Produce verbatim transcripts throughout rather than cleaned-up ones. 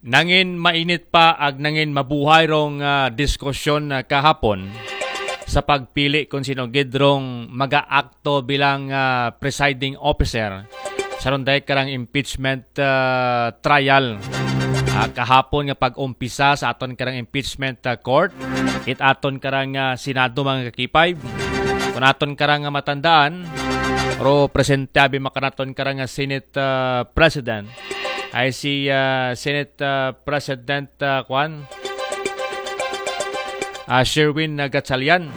Nangin mainit pa ag nangin mabuhay rong ah, diskusyon ah, kahapon sa pagpili kung sino gid rong mag-aakto bilang ah, presiding officer sa runday karang impeachment ah, trial. Ah, kahapon nga pag-umpisa sa aton karang impeachment ah, court, it aton karang ah, Senado, mga kakipay. Kung aton karang ah, matandaan, ro presente abi makanaton karang ah, Senate ah, President ay si ah, Senate ah, President ah, Kwan ah, Sherwin ah, Gatchalian.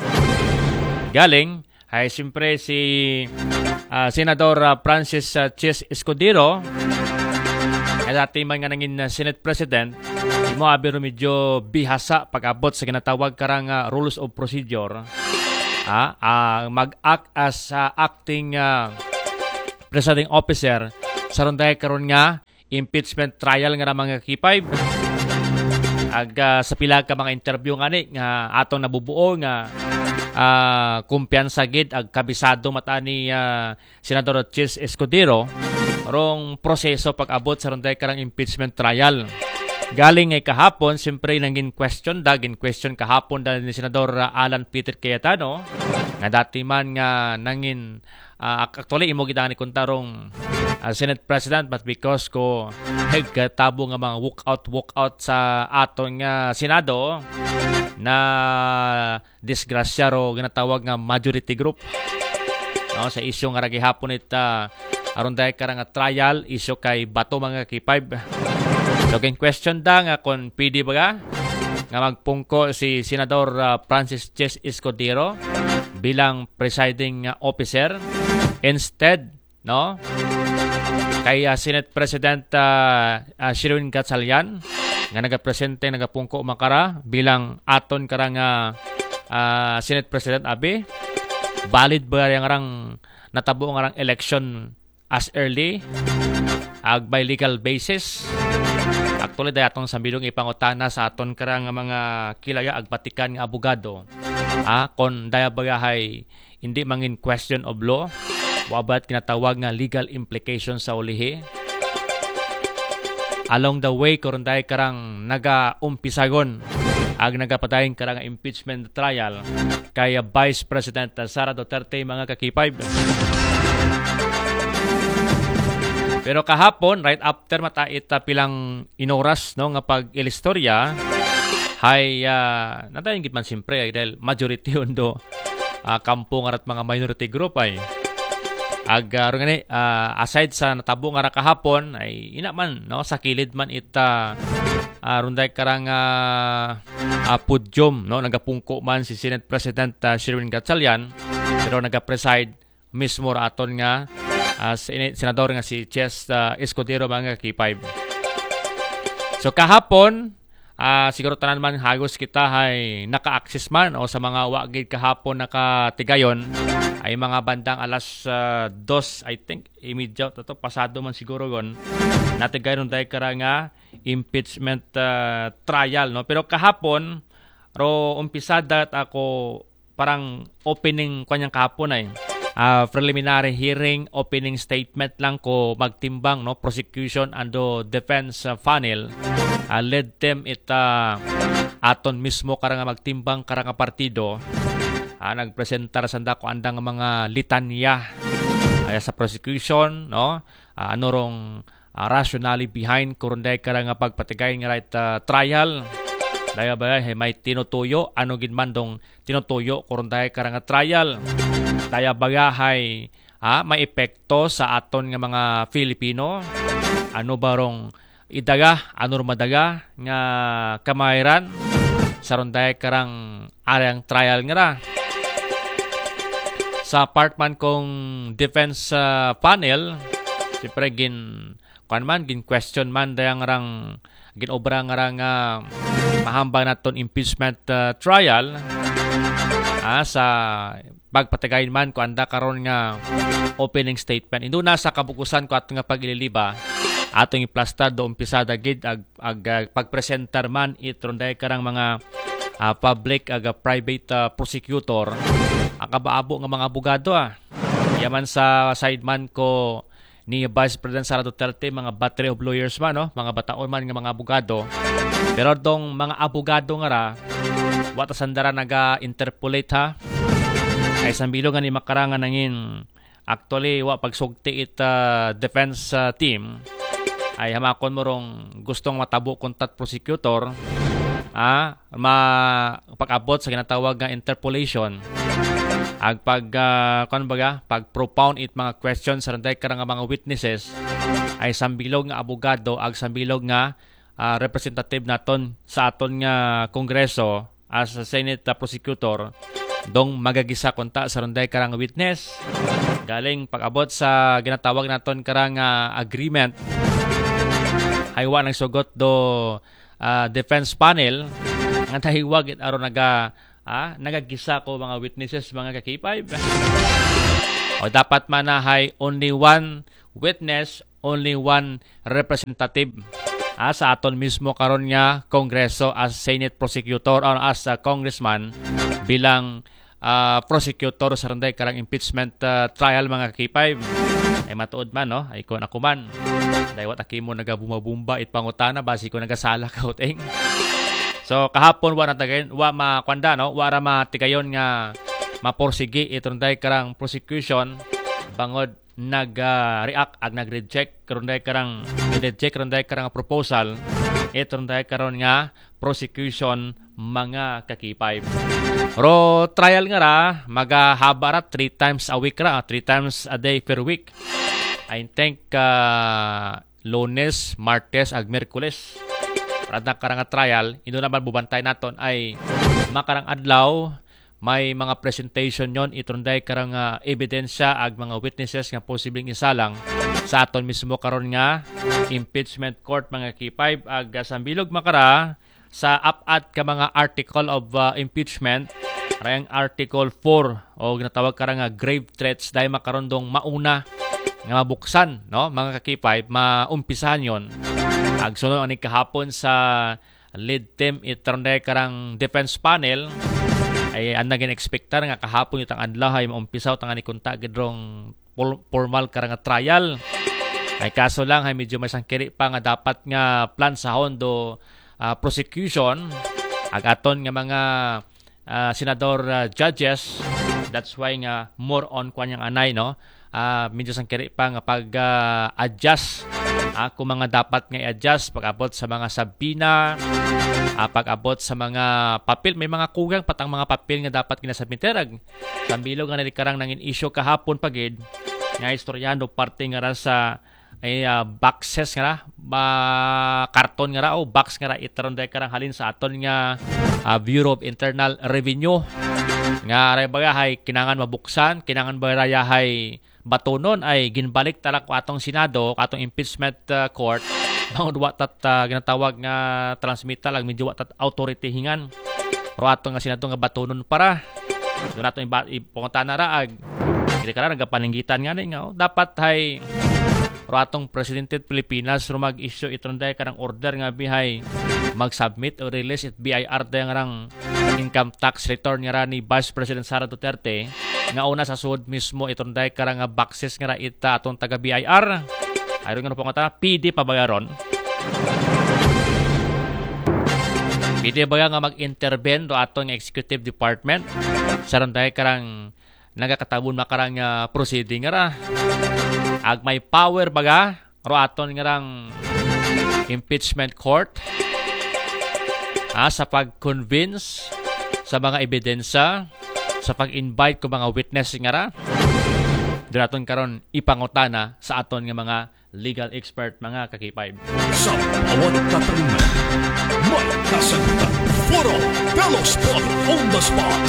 Galing ay siyempre si ah, Senador ah, Francis ah, Chis Escudero. Ay dati man nga nangin ah, Senate President, imo abi ro medyo bihasa pag-abot sa ginatawag karang ah, rules of procedure. Ah, ah, mag-act as ah, acting ah, presiding officer sa runday karon nga impeachment trial nga ra, mga kakipay. Ag ah, sa pila ka mga interview nga ni nga atong nabubuo nga ah, kumpiyansa gid ag kabisado mata ni ah, Senador Chis Escudero rong proseso pag-abot sa runday karang impeachment trial. Galing ay kahapon, siyempre nangin question da, gin question kahapon da ni Senador ah, Alan Peter Cayetano nga dati man nga nangin ah, ac- actually imo gid ani kunta rong ah, Senate President, but because ko nagkatabo nga mga walkout walkout sa aton nga Senado na disgrasya ro ginatawag nga majority group, no, sa isyu nga ra gihapon it ah, aron dahil karang nga trial isyu kay Bato, mga kakipay. So gin question da nga kung pwede ba nga magpungko si Senador ah, Francis Chis Escudero bilang presiding ah, officer instead, no, kay ah, Senate President ah, ah, Sherwin Gatchalian nga nagapresente, nagapungko makara bilang aton karang ah, ah, Senate President abi. Valid ba yang rang natabo nga rang election as early ag by legal basis? Actually, dahil atong sambilong ipangutana sa aton karang nga mga kilaya ag batikan nga abogado. Ah, kon daya bagahay hindi mangin question of law, wabat kinatawag nga legal implication sa ulihi. Along the way, karon dahil karang naga-umpisagon ag nagapadayon karang impeachment trial kay Vice President Sara Duterte, mga kakipay. Pero kahapon, right after mata ita pilang inoras, no, nga pag-ilistorya, hay ah, nadayon gid man siyempre ay dahil majority undo ah, kampo nga rat mga minority group ay ag ah, ro nga ni, ah, aside sa natabo nga ra kahapon ay ina man, no, sa kilid man ita ah, runday karang ah, ah, podium, no, nagapungko man si Senate President ah, Sherwin Gatchalian, pero nagapreside mismo ra aton nga ah, sine- senador nga si Chis ah, Escudero, mga kakipay. So kahapon, ah, siguro tanan man hagos kita hay naka-access man o sa mga wa gid kahapon nakatigayon ay mga bandang alas ah, dos, I think, imidya to, to pasado man siguro gon natigayon dahil kara nga impeachment ah, trial, no. Pero kahapon ro umpisada ako parang opening kanyang kahapon ay ah, preliminary hearing, opening statement lang ko magtimbang, no, prosecution and the defense ah, panel ah, led them it ah, aton mismo karang magtimbang karang partido ah, nagpresentar sanda ko andang mga litanya ay sa prosecution, no, ah, ano rong ah, rationale behind kurunday karang pagpatigay nga right ah, trial. Daya ba hay may tinutuyo, ano gid man dong tinutuyo kurunday karang trial? Daya ba hay ah, may epekto sa aton nga mga Filipino? Ano ba rong idaga, ano rong madaga nga kamayran sa runday karang arang trial nga ra? Sa part man kong defense ah, panel, siyempre gin kuan man, gin question man dayang rang gin obra nga rang ah, mahambang naton impeachment ah, trial ah, sa pagpatagayin man ko anda karon nga opening statement. Indo na sa kabukusan ko ato nga pag-ililiba, atong iplastar do umpisada gid ag, ag ah, pagpresentar man it runday karang mga ah, public ag ah, private ah, prosecutor, ang kabaabo nga mga abogado ah. Yaman sa side man ko ni Vice President Sara Duterte, mga battery of lawyers man, no? Mga bataon man nga mga abogado. Pero dong mga abogado nga ra, wa ta sanda ra naga-interpolate, ha. Ay sambilog nga ni makara nga nangin, actually, wa pagsugti it, ah, defense, ah, team. Ay hamakon mo rong gustong matabo kunta it prosecutor, ah, ma pag-abot sa ginatawag nga interpolation, ag pag, ah, kuwan baga, pag-propound it mga questions sa rong dayag kara nga mga witnesses, ay sambilog nga abogado ag sambilog nga, ah, representative naton sa aton nga Kongreso as a Senate, ah, prosecutor, dong magagisa kunta sa rong dayag kara nga witness. Galing pag-abot sa ginatawag naton kara nga agreement, ay wa nagsugot do, ah, defense panel nga nahiwag it aron naga, ah, nagagisa ko mga witnesses, mga ka-K five. O dapat man na hay only one witness, only one representative, ah, sa aton mismo karon nga Kongreso as Senate prosecutor or as a congressman bilang, ah, prosecutor sa rong dayag karang impeachment, ah, trial, mga ka-K five. Ay matuod man, no? Ay kon ako man. Dahil wa ta kimo nagabumba-bumba it pangutana, basi ko nagasala ka, uting. So kahapon wa na tagayon, wa makwanda, no? Wa ra matigayon nga maporsigi it rong dayag karang prosecution bangod nag-react ag nag-reject rong dayag karang, reject rong dayag karang proposal it rong dayag karon nga prosecution, mga ka-K five. Ro trial nga ra, magahaba ra, three times a week ra, ah, three times a day per week. I think, ah, Lunes, Martes, ag Miyerkules. Para na karang trial, indo naman bubantay naton ay makarang adlaw, may mga presentation yon it rong dayag karang, ah, ebidensya ag mga witnesses nga posibleng isalang sa aton mismo karon nga impeachment court, mga K five, ag, ah, sambilog makara sa apat ka mga article of, ah, impeachment, rayang Article four o ginatawag kara nga grave threats, dahil makaron dong mauna nga mabuksan, no, mga ka-K five, maumpisahan yon. Agsunod ang kahapon sa lead team it rong dayag karang defense panel, ay ang naging expectar nga kahapon itang adlaw ay maumpisa utang ani kunta gid rong pol-, formal karang trial. Ay kaso lang, ay medyo may sangkiri pa nga dapat nga plansahon do, ah, prosecution ag aton nga mga, ah, senador, ah, judges. That's why nga more on kwan yang anay, no? Ah, medyo sangkiri pa nga pag, ah, adjust, ah, kung mga dapat nga i-adjust pag-abot sa mga subpoena, ah, pag-abot sa mga papel, may mga kugang patang mga papel nga dapat ginasubmit. Sambilog nga nalikarang nangin issue kahapon pa gid nga istoryahan do parte nga ra sa ay, ah, boxes nga ra, ba, karton nga ra o box nga ra it rong dayag karang halin sa aton nga, ah, Bureau of Internal Revenue. Nga aray baga hay kinangan mabuksan, kinangan ba ra yahay batunon, ay ginbalik ta ra ko atong Senado, ko atong impeachment, ah, court, bangod wa tat, ah, ginatawag nga transmittal, ag medyo wa tat authority hingan ro ato nga Senado nga batunon para. Doon nato iba-, ipungutana ra ag. Kini kara nagapaninggitan nga ni nga, oh, dapat hay ro atong presidente it Pilipinas ro mag-issue it rong dayag karang order nga bihay mag-submit o release it B I R dayang rang income tax return nga ra ni Vice President Sara Duterte nga una sa sud mismo it rong dayag karang boxes nga ra it, ah, atong taga B I R. Ay ron nga pangutana, pwede pa ba ron? Pwede ba nga mag-intervene do aton nga executive department sa rong dayag karang nagakatabon makarang, ah, proceeding nga ra? Ag may power baga ro aton nga rang impeachment court, ah, sa pag-convince sa mga ebidensya, sa pag-invite ko mga witness nga ra? Doon naton karon ipangutana sa aton nga mga legal expert, mga ka-K five. Sa bawat katanungan, may kasagutan. Foro Bello Spot on the Spot.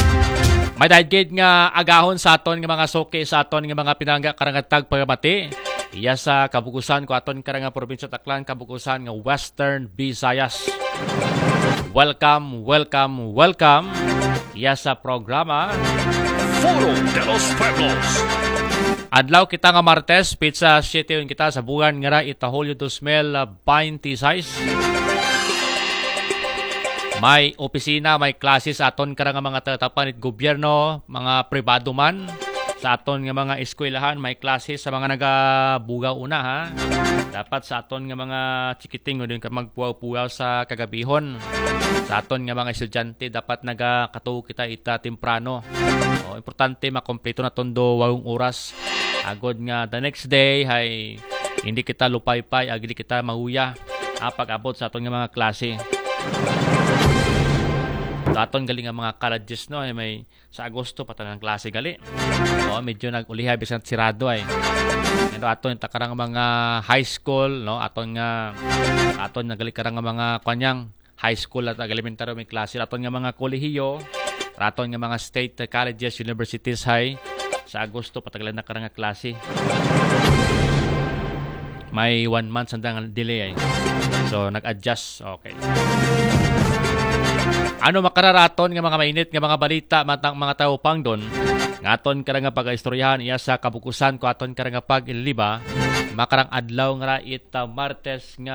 May dahil gid nga agahon sa aton nga mga suki, sa aton nga mga pinangga karang tagpagamati. Iya sa kabukusan ko aton karang probinsya Aklan, kabukusan nga Western Visayas. Welcome, welcome, welcome. Iya sa programa Foro de los Pueblos. Adlaw kita nga Martes, petsa siyete kita sa buwan nga ra ita Hulyo dos mil baynte sais. May opisina, may klase sa aton karang mga tatapan it gobyerno, mga pribado man. Sa aton nga mga eskwelahan, may klase sa mga nagabugaw una, ha. Dapat sa aton nga mga chikiting, o din ka magpugaw-pugaw sa kagabihon. Sa aton nga mga estudyante, dapat nagakatuo kita ita temprano. O, importante makompleto naton do walong oras. Agod nga the next day hay hindi kita lupaypay, agili kita mahuya. Ah, pag-abot sa aton nga mga klase. Sa aton gali nga mga colleges, no, ay may sa Agosto pa tanan klase gali. O, medyo nag-ulihay bisan sirado ay. Pero aton ta karang mga high school, no, aton nga aton nga gali karang mga kuan yang high school at elementary, may klase. Aton nga mga kolehiyo, aton nga mga state colleges, universities hay sa Agosto pa tanan gali na karang klase. May one month sandang delay ay. So, nag-adjust. Okay. Ano makararaton nga mga mainit nga mga balita matang mga tawo pangdon? Nga aton karang nga pag-istoryahan iya sa kabukusan ko aton karang nga pag-iliba. Makarang adlaw nga ra ita Martes nga